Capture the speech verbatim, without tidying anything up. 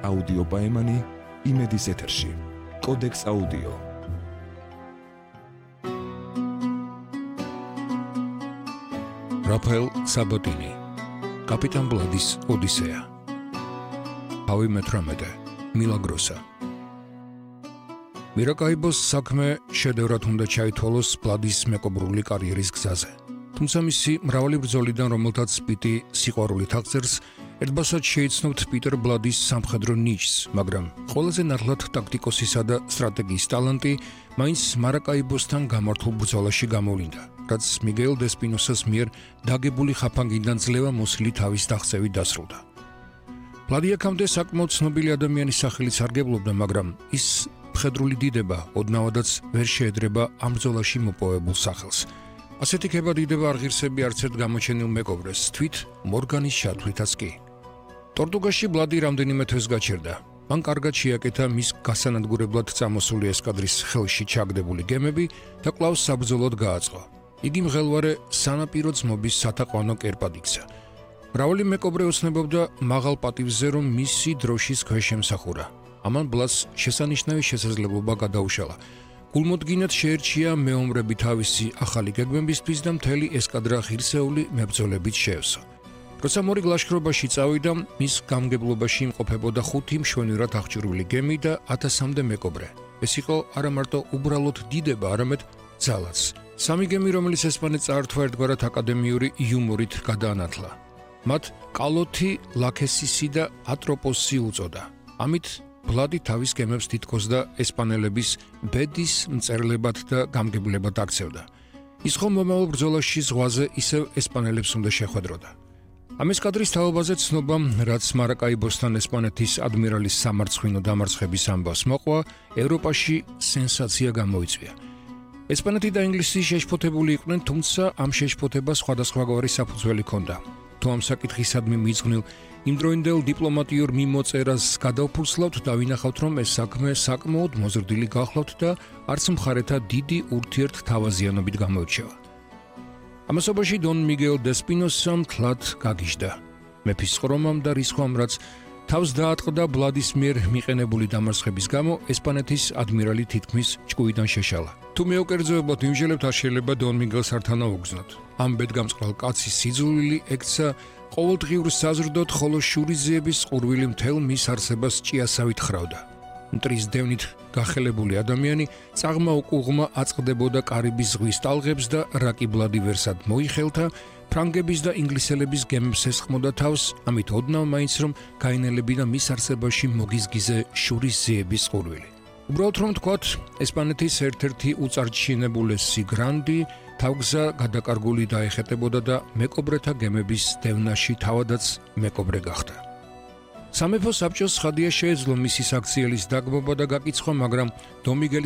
აუდიო პაემანი იმედის ეთერში. კოდექს აუდიო. რაფაელ საბოტინი. კაპიტან ბლადის ოდისეა. ავი მეტრამეტე. მილაგროსა. მირაკაიბოს საქმე შედევრად უნდა ჩაითვალოს ბლადის მეკობრული კარიერის გზაზე. თუმცა მისი მრავალი ბრძოლიდან, რომელთაც სპიტი სიყვარულით აღწერს, ერთბასად შეიცნობთ პიტერ ბლადის სამხედრო ნიჭს, მაგრამ ყველაზე ნათლად ტაქტიკოსისა და სტრატეგიის ტალანტი მაინც მარაკაიბოსთან გამართულ ბრძოლაში გამოვლინდა, რაც მიგეილ დესპინოსას მიერ დაგებული ხაფანგიდან ძლევა მოსილი თავის დაღწევით დასრულდა. ბლადი აქამდე საკმაოდ ცნობილი ადამიანის სახელით სარგებლობდა, მაგრამ ის მხედრული დიდება ოდნავადაც ვერ შეედრება ამ ბრძოლაში მოპოვებულ სახელს. ასეთი ქება დიდება არ ღირსები არც ერთ გამოჩენილ მეკობრეს, თვით მორგანის ჩათვლითაც კი. ტორტუგაში ბლადი რამდენიმე თვეს გაჩერდა. მან კარგად შეაკეთა მის გასანადგურებლად წამოსული ესკადრის ხელში ჩაგდებული გემები და კვლავ საბრძოლოდ გააწყო. იგი მღელვარე სანაპირო ძმობის სათაყვანო კერპად იქცა. მრავალი მეკობრე ოცნებობდა მაღალ პატივზე, რომ მისი დროშის ქვეშ ემსახურა. ამან ბლადს შესანიშნავი შესაძლებლობა გადაუშალა. გულმოდგინედ შეერჩია მეომრები თავისი ახალი გეგმებისთვის და მთელი ესკადრა ღირსეული მებრძოლებით შეევსო. როცა მორი ლაშქრობაში წავიდა, მის გამგებლობაში იმყოფებოდა ხუთი მშვენივრად აღჭურვილი გემი და ათასამდე მეკობრე. ეს იყო არა მარტო უბრალოდ დიდება, არამედ ძალაც. სამი გემი, რომელიც ესპანეთს წაართვა, ერთგვარად აკადემიური იუმორით გადაანათლა. მათ კალოთი, ლაქესისი და ატროპოსი უწოდა. ამით ბლადი თავის გემებს თითქოს და ესპანელების ბედის მწერლებად და გამგებლებად აქცევდა. ის ხომ მომავალ ბრძოლაში ზღვაზე ისევ ესპანელებს უნდა შეხვედროდა. ამ ესკადრის თაობაზე ცნობა, რაც მარაკაიბოსთან ესპანეთის ადმირალის სამარცხინო დამარცხების ამბავს მოყვა, ევროპაში სენსაცია გამოიწვია. ესპანეთი და ინგლისი შეშფოთებული იყვნენ, თუმცა ამ შეშფოთებას სხვადასხვაგვარი საფუძველი ჰქონდა. თუ ამ საკითხისადმი მიძღვნილ იმდროინდელ დიპლომატიურ მიმოწერას გადავფურცლავთ და ვინახავთ, რომ ეს საქმე საკმაოდ მოზრდილი გახლავთ და არც მხარეთა დიდი ურთიერთთავაზიანობით გამოირჩევა. ამასობაში დონ მიგეილ დესპინოსა მთლად გაგიჟდა. მეფის ხრომამ და რისხვამ, რაც თავს დაატყდა ბლადის მიერ მიყენებული დამარცხების გამო, ესპანეთის ადმირალი თითქმის ჭკუიდან შეშალა. თუ მეუკერძოებად ვიმჟელებთ, არ შეიძლება დონ მიგელს არ თანაუგზნოთ. ამ ბედგამწყრალ კაცის სიძულვილი ექცა ყოველდღიურ საზრდოდ, ხოლო შურიზეების ყურვილი მთელ მის არსებას ჭიასავით ხრავდა. მტრის დევნით გახელებული ადამიანი წაღმა უკუღმა აწყდებოდა კარიბის ზღვის ტალღებს და რაკი ბლადი ვერსად მოიხელთა, ფრანგების და ინგლისელების გემებს ესხმოდა თავს, ამით ოდნავ მაინც რომ გაინელებინა მის არსებაში მოგიზგიზე შურიზეების ყურვილი. უბრალოდ რომ თქვათ, ესპანეთის ერთ-ერთი უწარჩინებულესი გრანდი თავგზა გადაკარგული დაეხეტებოდა და მეკობრეთა გემების დევნაში თავადაც მეკობრე გახდა. სამეფო საბჭოს ხადია შეეძლო მისი საქციელის დაგმობა და გაკიცხვა, მაგრამ დონ მიგელის